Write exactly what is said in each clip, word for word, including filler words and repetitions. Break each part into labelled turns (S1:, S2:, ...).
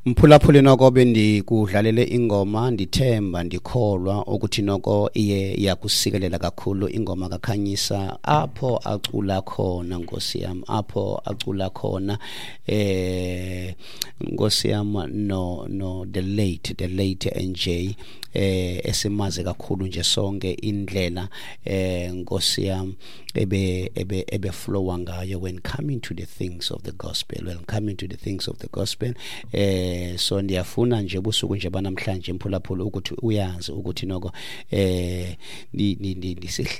S1: Mphulaphuli, noko bendikudlalele ingoma, ndithemba ndikholwa ukuthi noko iye yakusikelela kakhulu ingoma kaKhanyisa apho acula khona, Nkosi yam, apho acula khona eh Nkosi yam, no no the late the late N J eh esimaze kakhulu nje sonke, indlela eh Nkosi yam ebe ebe ebe flowa ngayo when coming to the things of the gospel when coming to the things of the gospel. eh so ndiyafuna nje ubusuku nje banamhlanje, mphulaphula, ukuthi uyazi ukuthi noko eh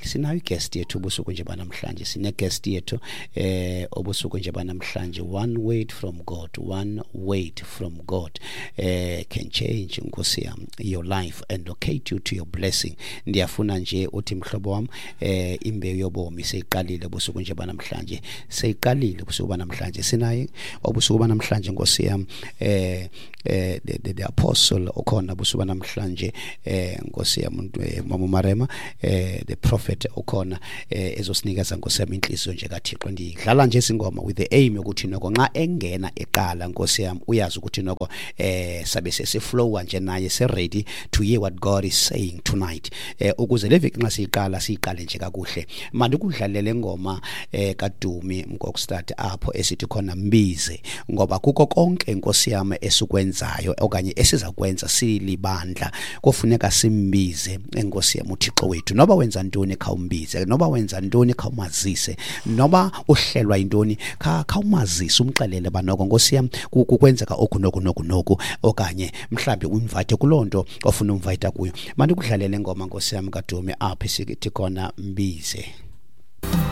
S1: sinayo guest yethu ubusuku nje banamhlanje, sine guest yethu eh obusuku nje banamhlanje. One word from God, one word from God eh can change, Nkosi yam, your life and locate you to your blessing. Ndiyafuna nje uthi, mhlobo wam, eh imbewu yobomi seyiqalile ubusuku nje banamhlanje, seyiqalile ubusuku banamhlanje. Sinaye obusuku banamhlanje, Nkosi yam, eh eh the, the, the apostle ukhona busuku namhlanje, eh Nkosi yam, Mama Marema, eh the prophet ukhona eh ezosinikeza, Nkosi yam, inhliziyo nje kaThixo. Ndidlala nje isingoma with the aim yokuthi noko nxa engena eqala, Nkosi yam, uyazi ukuthi noko eh sabe sesiflowa nje naye, se ready to hear what God is saying tonight, eh ukuze le veki nxa siyiqala, siyiqale nje kakuhle. Mandikudlalele ingoma eh kaDumi Mkokstad apho esithi khona "Mbize", ngoba kuko konke, Nkosi yam, esukwenzayo okanye esizakwenza silibandla, kufuneka simbize, enkosi yam, uThixo wethu. Noba wenza ntoni, khawumbize. Noba wenza ntoni, khawumazise. Noba uhlelwa yintoni, khawumazise, umxelele banoko, Nkosi yam, kukwenzeka oku noku noku noku, okanye mhlawumbi u-invite kuloo nto ofuna u-invite kuyo. Mandikudlalele ingoma, Nkosi yam, kaDumi apho isithi khona "Mbize".